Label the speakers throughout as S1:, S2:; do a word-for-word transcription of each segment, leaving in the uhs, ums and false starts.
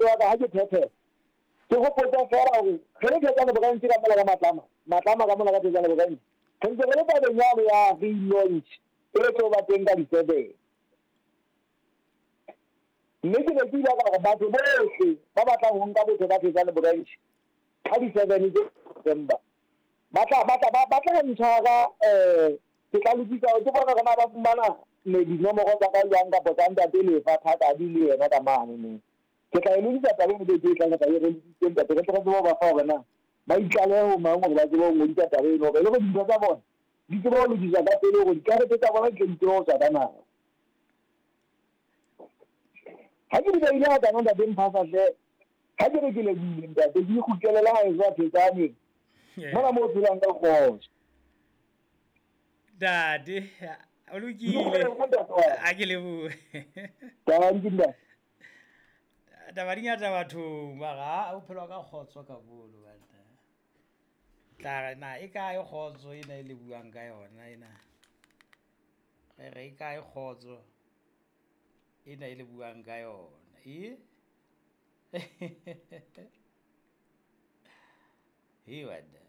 S1: ntate wa ka ha ke phethela ke hopotsa fela hore re le Thetsane Branch ka mola ka Matlama Matlama ka mola ka Thetsane Branch re ntse re le tabeng yane ya relaunch e tlo ba teng ka di-seven mme ke ne ke ile ka re batho bohle ba batlang ho nka botho ba Thetsane Branch ka di-seven tse November ba tla ba tla ba tla ntshwara eh ke tla lokisa ke bona hore na ba fumana dinomoro tsa ka jwang kapa tsa ntate Lefa Thata di le yena ka mane ne ke tla e lokisa taba eno beke e tlang, ke tla e re lokisitse ntate re tle re tsebe ho ba fa hore na ba itlalehe ho mang hore ba tsebe ho ngodisa taba eno hore e le hore dintho tsa bona di tsebe ho lokiswa ka pele hore dikarete tsa bona di tle di tsebe ho tswa ka nako. Ha ke di beile hakana ntate Mphasa hle, ha ke re ke lebohile ntate ke ikgutlele le haeso a Thetsane mona moo o phelang ka kgotso.
S2: Ntate o lokile a ke lebohe.
S1: Tanki ntate.
S2: Taba di ngata bathong mara o phelwa ka kgotso ka bolo banna. Tla re na e kae kgotso ena e le buang ka yona ena? Re re e kae kgotso ena e le buang ka yona? E? He banna.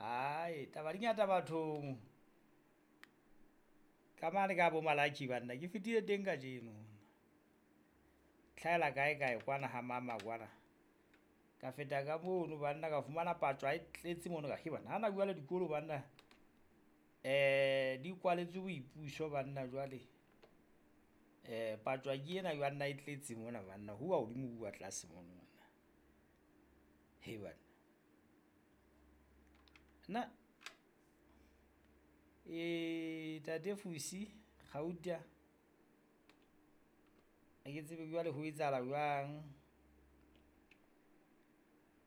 S2: Ai, taba di ngata bathong. Ka mane ka bo Malaki banna ke fetile teng kajeno. Tlhaela kae kae kwana ha mama kwana. Ka feta ka mono banna ka fumana patswa e tletse mono ka he banna. Ha na jwale dikolo banna. Eh di kwaletswe boipuso banna jwale. Eh patswa ke ena banna e tletse mona banna. Huwa hodimo huwa tlase mono banna. He banna. Na eh tate Fusi Gauta ha ke tsebe jwale ho etsahala jwang,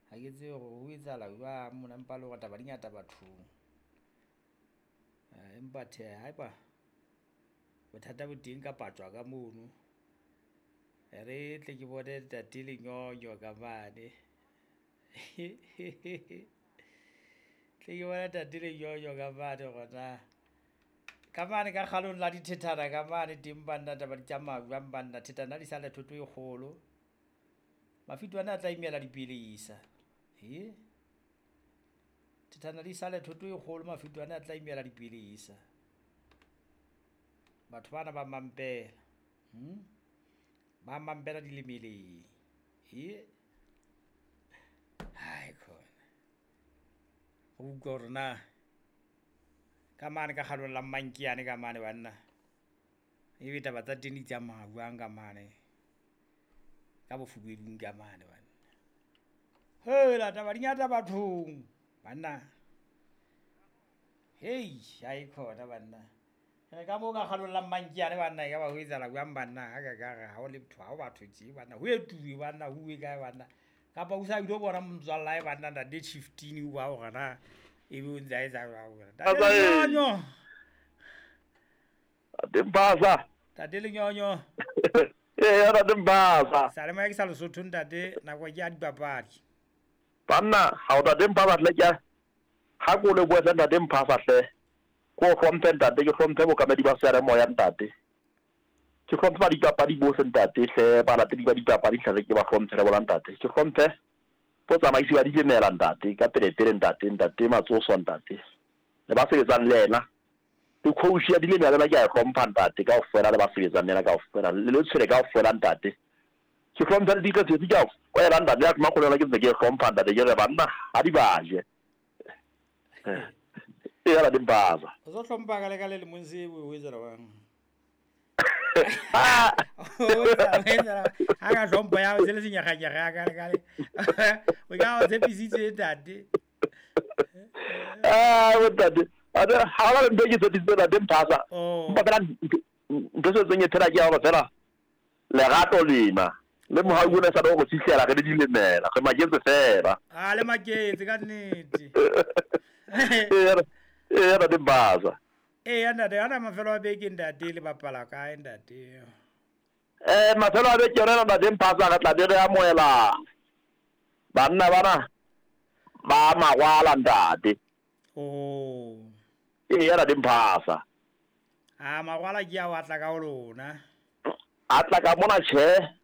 S2: ha ke tsebe hore ho etsahala jwang mona, empa le hore taba di ngata bathong. Empa tjhe haeba bothata bo teng ka patswa ka mono, re tle ke bone ntate Lenyonyo ka mane. Tle ke bone ntate Lenyonyo ka mane hore na ka mane ka kgalong la dithethana ka mane teng banna taba di tsamaya jwang banna. Thethana di sale thoto e kgolo, mafito ana a tla imela dipelesa. He thethana di sale thoto e kgolo, mafito ana a tla imela dipelesa. Batho bana ba mampela, hmm? Ba mampela dilemeleng. He hai khona o utlwa hore na ka mane ka kgalong la Mmankiane ka mane banna ebe taba tsa teng di tsamaya jwang ka mane ka bofubedung ka mane banna. Hela taba di ngata bathong banna. Hei ha e khona banna. Re ka moo ka kgalong la Mmankiane banna e ka ba ho etsahala jwang banna. Ha ka ka re ha o le motho ha o batho tje banna ho etuwe banna ho uwe kae banna. Kapa o sa ile bona motswalla hae banna ntate Chieftain o ba hore na ebe o ntse a etsa jwang. Ntate Lenyonyo.
S3: Ntate Mphasa.
S2: Ntate Lenyonyo.
S3: Ee, ntate Mphasa.
S2: Salemoya ke sa Lesotho ntate, nako ke ya dipapadi.
S3: Banna, ha o ntate Mphasa hle ke ha ko le bua ntate Mphasa hle. Ko hlomphe ntate, ke hlomphe bokamedi ba seyalemoya ntate. Ke hlomphe ba dipapadi bohle ntate hle, balatedi ba dipapadi hle ke ba hlomphe le bona ntate. Ke hlomphe botsamaisi ba dilemela ntate ka pele pele ntate, ntate Matsoso ntate. Le ba sebetsang le yena. Le coach ya dilemela le ke a hlompha ntate kaofela le ba sebetsang le yena kaofela. Le le tshwere kaofela ntate. Ke hlomphe le diketso tse kaofela ntate ya makgolo ke ntse ke hlompha ntate ke re banna ha di ba je. E ya la dimbaza.
S2: O tlo hlompha ka le ka le lemong se o etsa jwang? Ha ka hlompha ya o tsele senyakganyakga ka le ka le. O ka o tshepisitse ntate.
S3: Ah, ntate. Ade ha ba ntho ke tshepisitse ntate Mphasa. Empa fela ntho se tseng e phela ke ya hore fela lerato lena le mohau ona sa go fihlela re le dilemela re maketse fela.
S2: Ah, le maketse ka nnete.
S3: Ee, ee ntate Mphasa.
S2: Ee ntate, ana mafelo a beke ntate le bapala kae ntate?
S3: Eh mafelo a beke yona ntate Mphasa re tla be re amohela banna bana ba Magwala ntate.
S2: Oh.
S3: Ee ntate Mphasa.
S2: Ah, Magwala ke a wa tla ka ho lona.
S3: A tla ka mona tjhe.